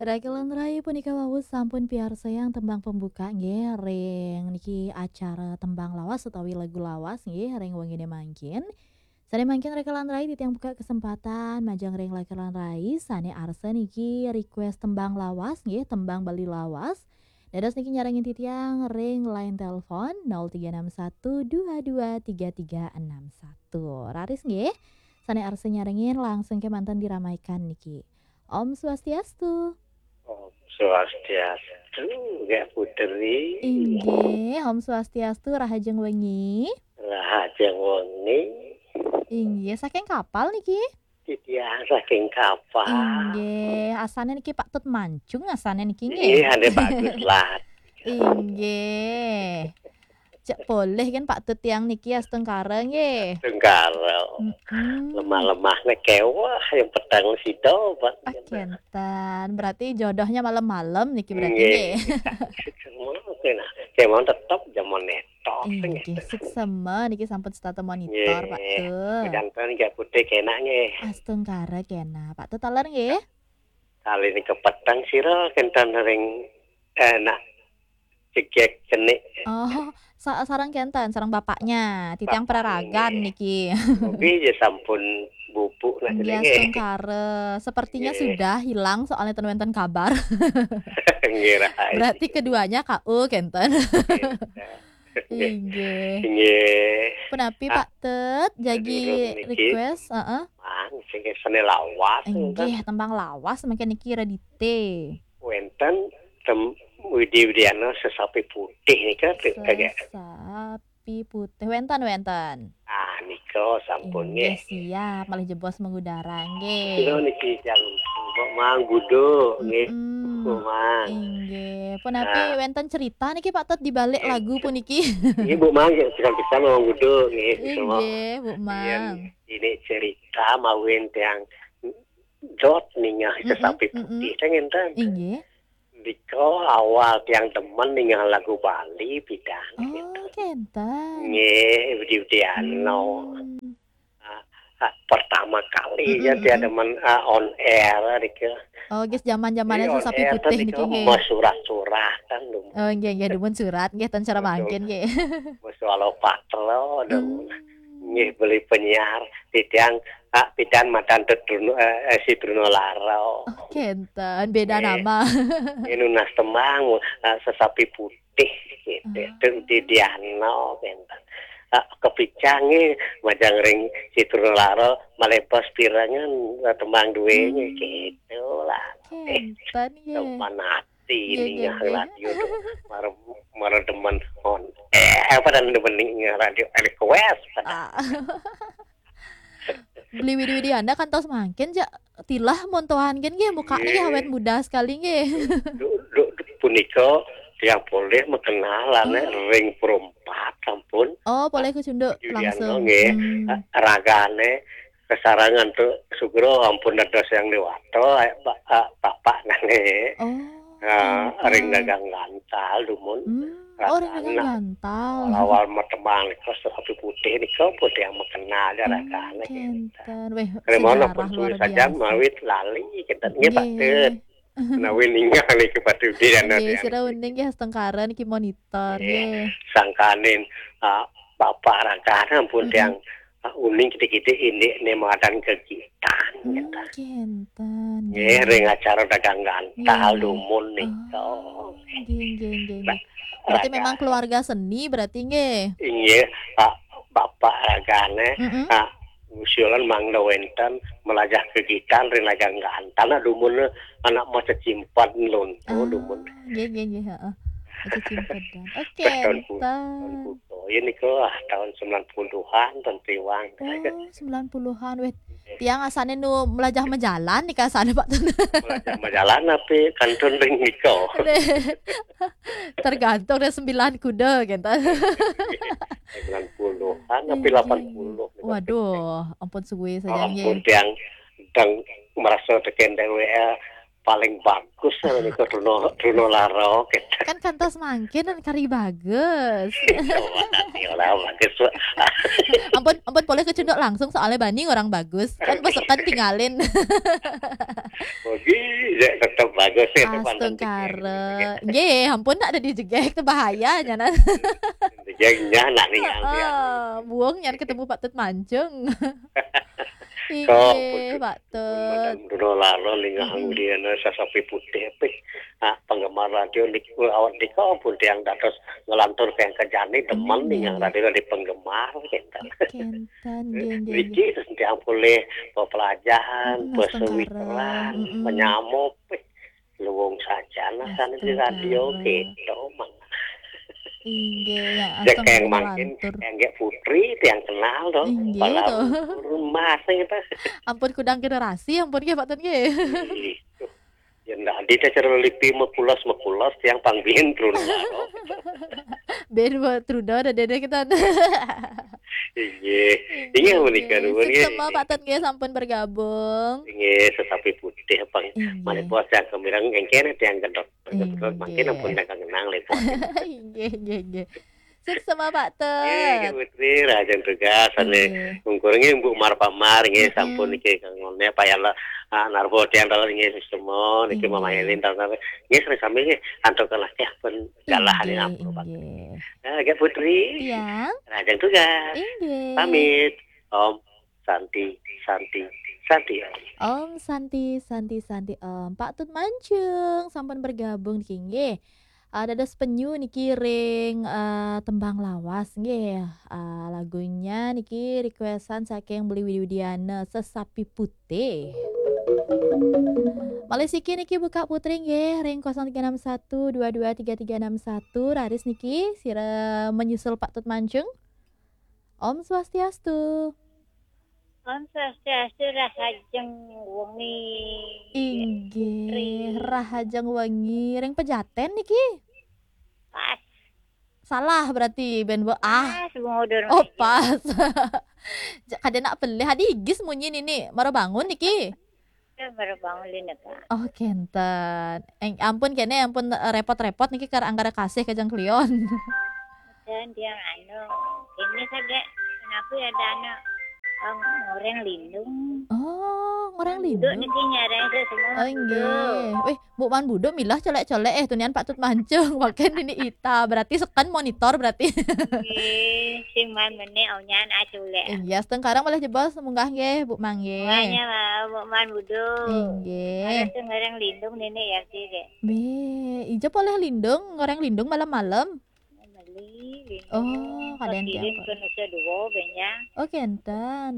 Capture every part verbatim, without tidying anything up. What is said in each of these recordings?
Raka lan rai, punika wau sampun piarsayang tembang pembuka nggih ring niki acara tembang lawas utawi lagu lawas nggih ring wengine mangkin. Sane mangkin raka lan rai titiang buka kesempatan majeng ring raka lan rai sane arsa niki request tembang lawas nggih, tembang Bali lawas. Dados niki nyarengin titiang ring line telepon nol tiga enam satu dua dua tiga tiga enam satu. Raris nggih. Sane arsa nyarengin langsung kemanten diramaikan niki. Om Swastiastu. Om Swastiastu, Gek Putri. Inggih, Om Swastiastu, rahajeng wengi. Rahajeng wengi. Inggih, saking Kapal niki? Titiang saking Kapal. Inggih, asane niki Pak Tut Mancung asane niki nggih. Inggih, ane bagus lah. Inggih. Cek polih kan Pak Tut tiang niki astungkara nggih. Astungkara. Mm-mm. Lemah-lemahne kewah yang petang sida, Pak. Ah, kenten. Berarti jodohnya malam-malam niki berarti nggih. Nggih. Semua kena. Kemon tetep jaman netok. Inggih, suksema niki sampun setata monitor, Pak Tut. Janten nggih putih kena nggih. Astungkara kena. Pak Tut taler nggih. Kali niki petang sira kenten ring enak cegek cenik. Oh, sa- sareng kenten, sareng bapaknya. Titiang Bapaknya peraragan nggih. Niki. Mugi ya sampun bubuk nah Inggih, jenenge. Astungkara. Sepertinya nggih. Sudah hilang soalnya ten wenten kabar. Nggih, Rai. Berarti keduanya K O kenten. Nggih. Inggih. Inggih. Punapi, ah, Pak Tut, jagi durung niki request, heeh. Mang, sing sene lawas, inggih, tembang lawas mangke niki Radite. Wenten tem Widi Widiana Sesapi Putih nika, Sesapi Putih. Wenten, wenten. Ah, nika sampun nggih. Inggih, siap. Malih jebos mengudara nggih. Kira niki jam Mbok Mang Gudo nggih. Mm-mm. Mbok Mang. Inggih. Punapi nah. Wenten cerita niki Pak Tut di balik nggih. Lagu puniki. Nggih, Bu Mang, ya, pisan-pisan Mang Gudo nggih. Inggih, Bu Mang. Yen ini cerita mawin tiang dot ningah, mm-mm, Sesapi Putih, mm-mm. Teng enten. Inggih. Nika awal tiang demen ningah lagu Bali pidan. Oh, gitu. Kenten. Nggih, Widi Widiana. Hmm. Ah, ah, pertama kali mm-mm, ya tiang demen, ah, on air nika. Oh, guys, zaman-zamannya Sesapi Putih niki nggih. Mas surat-surat kan dulu. Oh, nggih, nggih, dumun surat nggih ten cara mangkin nggih. Mas walau patro dulu. Hmm. Nggih, beli penyiar titiang, ah, pidan matan Tut Truno, eh, eh, si Truno Laro. Oh, kenten, beda nama. Nggih. Nunas tembang, ah, Sesapi Putih gitu. Ah. Tut Widiana kenten. Ah, kepicang nggih majeng ring si Truno Laro malebos pirengan, ah, tembang duene gitu lah. Kenten nggih. Sopan ati nggih, nggih, ningah nggih. Radio tuh. Mara, mara demen on. Eh, apa dan demen ningah radio request pada. Ah. Beli Widi Widiana kantos mangkin ja tilah montohan kan nggih mukanya nggih. Awet muda sekali nggih. Duh, duh, duh, punika tiang polih makenal ane ring perempat sampun. Oh, polih kecunduk langsung. Nggih. Hmm. Ragane kesarengan Tut Sugro ampun dados yang dewata, eh, ba-, eh, bapak nane. Oh, ah, kenten. Ring dagang gantal dumun. Hmm. Oh, ring dagang gantal. Awal-awal matembang nika Sesapi Putih nika pun yang makenal ya. Hmm, ragane kenten. Weh, sejarah luar biasa. Mawit lali kenten nggih, Pak Tut. Menawi ninggal niki Pak Tut Widiana. Nggih, sira uning nggih astungkara niki monitor nggih. Sangkaning, ah, bapak ragane ampun tiang, ah, uning kidik-kidik indik ne madan kegiatan, hmm, gitu. Kenten. Nggih, ring acara dagang gantal dumun nika. Oh, nggih, nggih, nggih, nggih. Berarti memang keluarga seni berarti nggih. Inggih, Pak, bapak ragane, mm-mm, Pak, ngusulan mangda wenten melajah kegiatan ring dagang gantal dumun anak mau cecimpedan lonto dumun. Nggih, nggih, nggih, heeh. Cecimpedan. Oke, tahun nika, ah, tahun sembilan puluhan, tahun tiwang. Oh, sembilan puluhan. Weh, tiang asane nu melajah majalan nika asane, Pak. Melajah majalan tapi kantun ring nika. Tergantung dari sembilan kuda gitu. Sembilan puluhan tapi delapan puluh. Waduh, ampun suwe saja nggih. Ampun tiang dang merasa teken W A paling bagus nika Truno, Truno Laro gitu. Kan kantos mangkin dan kari bagus. Iya, nanti orang bagus. Ampun, ampun polih kecunduk langsung soalnya bani orang bagus. Kan pesekan tinggalin. Oke, ya tetep Astungkara. Nggih, ampun, nak ada dijegek tu bahaya nyanan. Jegeknya nak nih yang dia. Heeh, buang nyan ketemu Pak Tut Mancung. Inggih, Pak Tut. Madam Duno Lalo lingah dia na sasapi putih pih. Ah, penggemar radio niku awak niku ampun tiang dados ngelantur ke jani demen nih yang radio di penggemar gitu. Kenten, nggih, nggih, nggih. Niki terus tiang boleh pepelajahan, mm, pesewiran, mm-mm, penyamop, eh, luwung sajan nah sana di radio gitu, Mang. Inggih, ya, astungkara mangkin ngelantur. Yang nggih Putri, tiang kenal to. Inggih, pala to. Urun mas gitu. Ampun kudang generasi, ampun nggih, Pak Tut nggih. Ih, tuh. Ya ndak di cara lipi mekulos-mekulos tiang pang biyen trun karo. Ben wa truda ada dede kita. Inggih. Inggih, menika nuwun nggih. Suksema Pak Tut nggih sampun bergabung. Inggih, sesapi putih pang. Inggih. Malih puas tiang kemireng engkene tiang gedot. Inggih. Mangkin ampun tiang kenang lho. Inggih, inggih, inggih. Suksema Pak Tut. Nggih, nggih, Putri, rahajeng tugas, ane. Inggih. Ungkur nggih, Mbok Mar Pak Mar, nggih, mm-mm, sampun niki kangone payah lah, ah, narbo tiang dalan nggih, suksema, niki, inggih, Mama Elin dalan, nggih, sering sami nggih, antuk kalah nggih, pun galah, inggih, nggih, ampun, Pak. Inggih. Nah, nggih, Putri. Tiang. Rahajeng tugas. Inggih. Pamit. Om Santi, Santi, Santi, Om. Om Santi, Santi, Santi, Om. Pak Tut Mancung, sampun bergabung niki nggih. Ah, dados penyu niki ring, eh, tembang lawas nggih. Ah, lagunya niki requestan saking Beli Widi Widiana, Sesapi Putih. Malih siki niki buka Putri nggih ring kosong tiga enam satu dua dua tiga tiga enam satu. Raris niki sira menyusul Pak Tut Mancung. Om Swastiastu. Om Swastiastu, rahajeng wengi. Inggih, Putri. Rahajeng wengi. Ring Pejaten niki? Pas. Salah berarti, ben be-, ah. Pas, Bung Udur. Oh, pas. Ja-, kada nak pelih, adi igis munyi nini. Mara bangun niki? Baru bangun lina, Kak. Oh, kenten. Eng, ampun kene, ampun, eh, repot-repot niki kar anggara kasih kajeng klion. Dan dia anu, ini saja, kenapa ya ada anu, em, ngoreng lindung. Oh, ngoreng lindung. Duduk niki nyareng ke semua. Oh, inggih. Wih, Bu Man Budo milah colek-colek, eh, tunian Pak Tut Mancung, makin ini ita. Berarti seken monitor berarti. Nggih, sing man mene aunyan aculek. Iya, setengkarang boleh jebos munggah nggih, Bu Mang nggih. Makanya, Bu Man Budo. Inggih. Harus ngoreng lindung nini ya sih, dek. Be, ija boleh lindung, ngoreng lindung malam-malam. Beli lindung. Oh, kadang kirim tiap ke Nusa Dua, benya. Oh, kenten.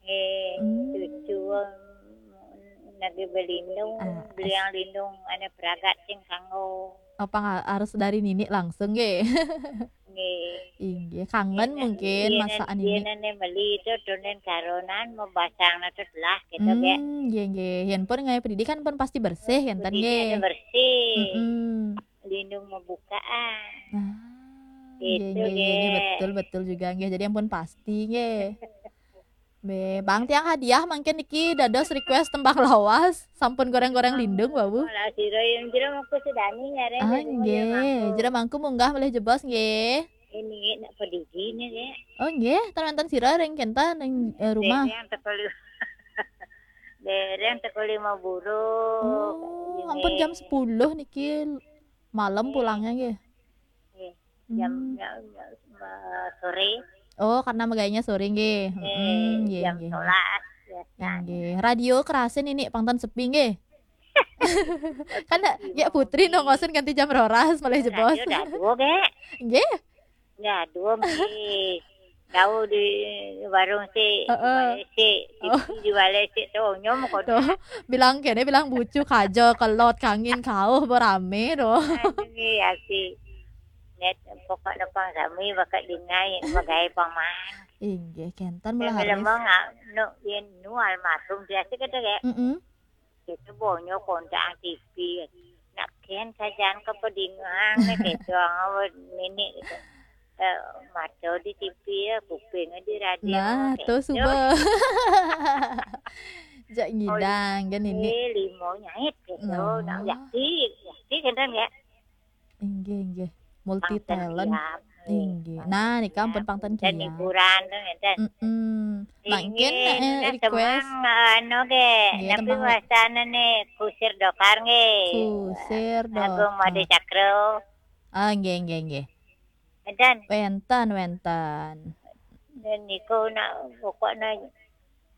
Eh, hmm. Cucu, em, lagi belindung, ah, beli as- yang lindung, ane peragat sing kanggo. Apa nga-, harus dari nini langsung, nggih? Nggih. Inggih, kangen mungkin iya, masakan ini. Iya, nene beli itu, tunen karonan, mau basang, nah, terus lah, gitu, ya. Hmm, nggih, nggih. Yen pun ngai pendidikan pun pasti bersih, kenten, nggih. Pendidikan bersih. Mm-mm. Lindung membukaan. Nah, gitu, nggih, nggih, nggih, nggih. Betul, betul juga, nggih. Jadi ampun pasti, nggih. Be, Bang tiang hadiah mangkin niki dados request tembang lawas, sampun goreng-goreng lindung, Babu. Lah, sira yang jero mangku sedani nyareng. Ah, nggih. Jero mangku munggah malih jebos, nggih. Ini nak pedigi nih, ya. Oh, nggih, tan wonten sira ring kenten ring, eh, rumah. Dereng teko li-, dereng teko lima buruk. Oh, ampun jam sepuluh niki malam pulangnya, nggih. Nggih. Jam, hmm, jam, jam, eh, sore. Oh, karena megainya sore nggih. Eh, mm-mm, nggih, jam nggih. Sebelas, ya. Nggih. Radio kerasin ini pangtan sepi nggih. Kan ya Putri nongosin ganti jam roras malih jebos. Radio dah dua, Gek. Nggih. Ya, dua nggih. Tahu di warung sik, heeh, di balai sik, oh, di balai sik tu nyom kok. Tuh, bilang kene, bilang bucu kaja, kelot, kangin, kauh, berame tu. Aduh, ya sih. Net, pokok depan sami bakat dingai, bagai paman. Inggih, kenten. Dia melah memang ngak, nu, yen nu almarhum biasa kata, Gek. Mm-mm. Kita bonyo kontak T V. Nak ken sajan ke pedingang, gitu, awak nenek, gitu. Eh, mata di T V ya, kuping di radio, nah, gitu. Tuh, suba. Jak ngidang, kan ini. Eh, limo nyait, gitu. Nah. Nah, yakti, yakti, kenten, ya. Inggih, inggih. Multi talent. Pangten kiam. Inggih. Nah, nika ampun pangten kiam. Dan hiburan tu, ngeten. Mm-mm. Mangkin, eh, request. Semang, anu ge, nggih, napi tembang wastanane, Kusir Dokar nggih. Kusir Dokar. Agung Made Cakro. Ah, nggih, nggih, nggih. Enten. Wenten, wenten. Dan niku nak pokokna,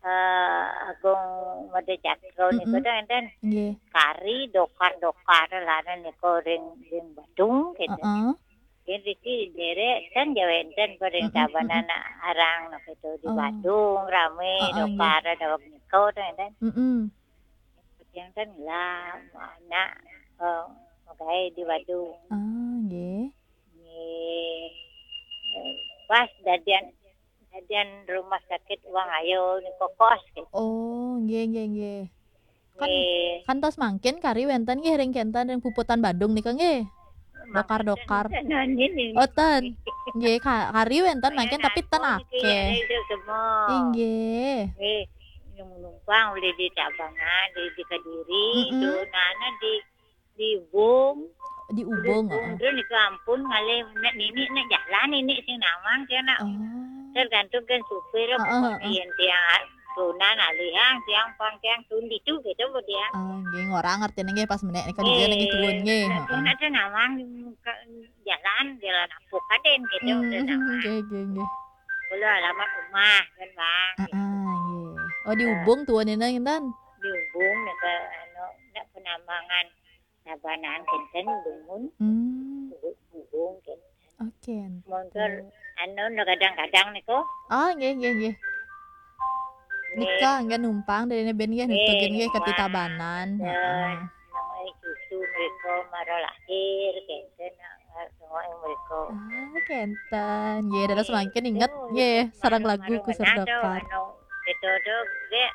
eh, Agung Made Cakro niku, heeh, enten. Nggih. Kari Dokar-Dokar lah niku ring, ring Badung gitu. Heeh. Yen riki derek ten ya wenten ring, mm-mm, tabanan arang niku di, oh, Badung rame, oh, oh, nggih, Dokar daweg niku ten. Mm-mm. Yang ten lah anak, eh, magawe di Badung. Ah, nggih. Nggih. Eh, pas dadian, dadian rumah sakit Wang Ayo niku kos gitu. Oh, nggih, nggih, nggih. Kan, nggih, kantos mangkin kari wenten nggih ring kenten ring puputan Badung nika nggih. Dokar-dokar. Mangkin ten, ten, ten, ten. Oh, ten. Nggih, ka-, kari wenten mangkin tapi ten akeh. Inggih. Nggih, yang numpang ulih di Tabanan, di, di Kediri, mm-mm, itu, nah, nah, di, di Ubung. Di Ubung, heeh. Terus niku ampun ngalih nek nini nek jalan nini sing nawang dia nak. Oh. Tergantung kan supir, heeh, pokoknya heeh, yen tiang tunan alihang tiang pang tiang tundi tu gitu bu tiang. Oh, nggih, ngorang artine nggih pas menek nika, nggih, niki tuwun nggih. Heeh. Nek ada nawang ke jalan, jalan ampuk kaden gitu, hmm, udah nawang. Nggih, nggih, nggih. Kalau alamat rumah kan, Bang, gitu. Heeh, nggih. Oh, di, eh, Ubung tuwunina ngenten? Di Ubung nek anu, nek Penambangan. Tabanan kenten dumun. Hmm. Ubu-, ubung kenten. Oke, montor enten. Anu no kadang-kadang niku. Oh, nggih, nggih, nggih. Nggih. Nika nggih numpang dari ben nggih, nggih, nitugin nggih ke numpang. Tabanan. Heeh. Nang susu mereka mara lahir kenten, nang, nang mereka. Ah, kenten. Nggih, dados mangkin inget nggih, nggih, sareng lagu Kusir Dokar. Anu, itu tuh, nggih,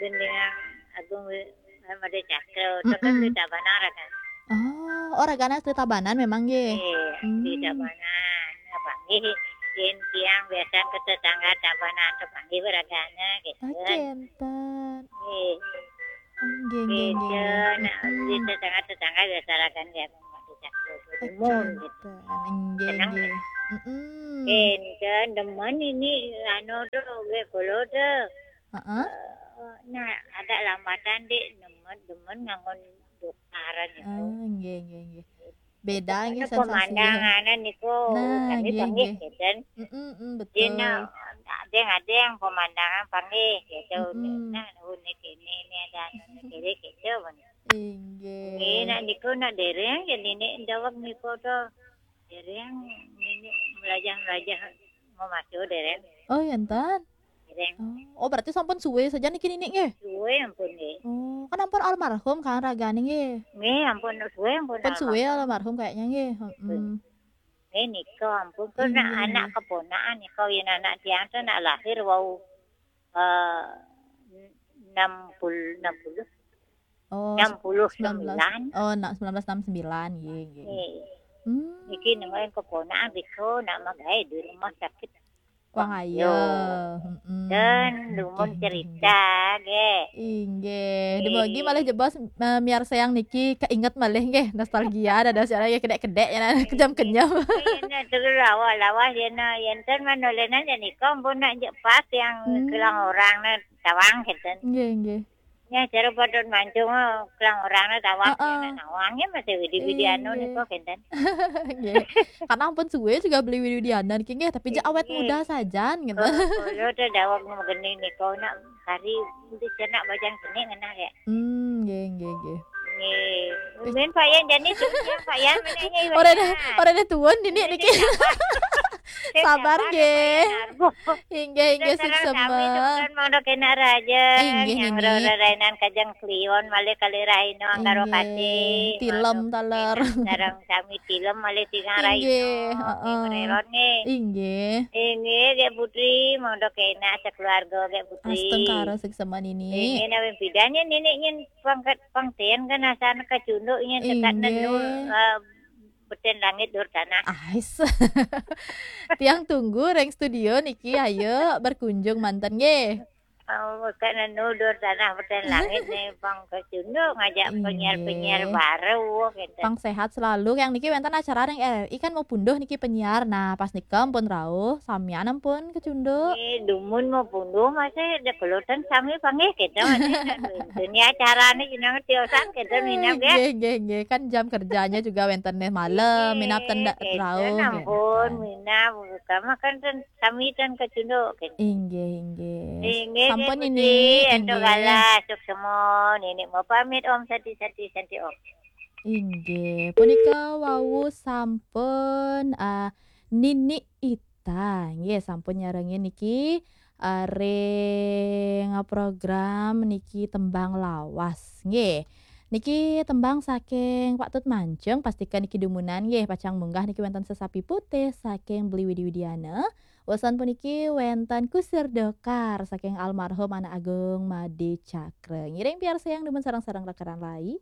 Gendingan Agung Wi-, Made Cakro, itu kan, mm-mm, di Tabanan kan. Oh, oh, ragane asli Tabanan memang nggih. Iya, di, hmm, Tabanan. Apa nggih, yen tiang biasa ke tetangga Tabanan tuh panggil ragane gitu. Oke, enten. Nggih. Oh, nggih, nggih, nggih, gitu, nggih. Nah, mm-mm, di tetangga-tetangga biasa ragane ya, Made Cakro, oke, timun gitu. Enten. Nggih, seneng nggih. Gitu. Mm-mm. Enten demen ini anu tuh, nggih, kula tuh. Heeh. Eh, nah, agak lambatan, Dik, demen, demen nganggo dokaran itu. Ah, nggih, nggih, nggih. Beda nggih sensasi. Pemandangan niku, nah, kami nggih, panggih, nggih. Gitu. Mm-mm, mm, betul. Dina, ada yang, ada yang pemandangan panggih, gitu. Mm-mm. Nah, unik ini, ini ada anu kiri, gitu. Inggih. Nggih, nak niku, nak dereng, ya, nini daweg niku tuh. Dereng, nini melajah-melajah mau masuk dereng. Oh, ya, enten. Dereng. Oh, oh, berarti sampun suwe saja niki nini nggih? Suwe ampun nggih. Oh, kan ampun almarhum kan ragane nggih? Nggih, ampun suwe ampun almarhum. Pun suwe almarhum kayaknya nggih. Heeh. Nggih, nika ampun, kok nak, iya, anak keponakan nika, yen anak tiang tuh nak lahir wau, eh, enam puluh, enam puluh. Oh, enam puluh sembilan. Oh, nak sembilan belas enam sembilan, nggih, nggih. Nggih. Hmm. Niki nemokin keponakan nika nak magawe di rumah sakit Wang Ayo. Mm-mm. Dan dumun cerita, nggih. Inggih. Nggih. Dumugi malih jebos, eh, miarsayang niki keinget malih nggih, nostalgia dados ya, ya kedek-kedek ya, kenyam-kenyam. Nggih, nah, terus lawas-lawas yen, yen ten manolenan ya nika ampun nak jek pas yang, hmm, kelang orang nah tawang gitu. Nggih, nggih. Ya, cara padon mancung, oh, kelang orang tawang, heeh, ya, nawang ya masih widi-widi anu, iya, nika kenten. Nggih. Karena ampun suwe juga beli widi-widi anu niki nggih, tapi jek awet muda sajan gitu. Nggih. Kalau, kalau ada dawang mau geni nika nak kari, itu cenak bajang geni ngenah ya. Hmm, nggih, nggih, nggih. Nggih. Mungkin Pak Yan jani, Pak Yan mana nggih, Pak Yan? Ora deh, ora deh tuwun niki, niki. Sabar nggih. Inggih, inggih, suksma. Monggo kena raja. Inggih, yang Nini. Rorainan kajeng kliwon malih kali raino anggaro kati. Tilem taler. Sareng sami tilem malih tigang raino. Inggih, heeh. Ngrerot nggih. Inggih. Inggih, Gek Putri, monggo kena sekeluarga Gek Putri. Astungkara suksma Nini. Inggih, nawi bidan yen Nini yen pangkat pangten kan asane kacunduk yen dekat nenul, eh, beten langit dur tanah. Ais. Tiang tunggu ring studio niki, ayo berkunjung manten nggih. Oh, kena nudur tanah beten langit nih, pang kecunduk ngajak Inggih. Penyiar-penyiar baru gitu. Pang sehat selalu. Yang niki wénten acara ring R R I kan mau punduh niki penyiar. Nah, pas nika ampun rauh, samian ampun kecunduk. Ini dumun mau punduh masih ada kelutan sami panggih gitu. Ini acaranya jenengan tiosan gitu minap ya. Nggih, nggih, nggih. Kan jam kerjanya juga wénten nih malam, minap ten ndak Gitu, rauh. ampun, minap buka makan ten sami ten kecunduk gitu. Inggih, inggih. Inggih, Sampun Nini ini, Puji, entuk inggih. Galah, sukses semua. Nini mau pamit, Om, santi, santi, santi, Om. Inggih, punika wau sampun ah, Nini Ita, nggih sampun nyarengin niki ah, ring program niki tembang lawas, nggih. Niki tembang saking Pak Tut Mancung, pastikan niki dumunan nggih, pacang munggah niki wénten Sesapi Putih saking Beli Widi Widiana. Wésan puniki wénten Kusir Dokar saking almarhum Anak Agung Made Cakra. Ngiring piarsayang dumun sareng-sareng rekan-rekan lai.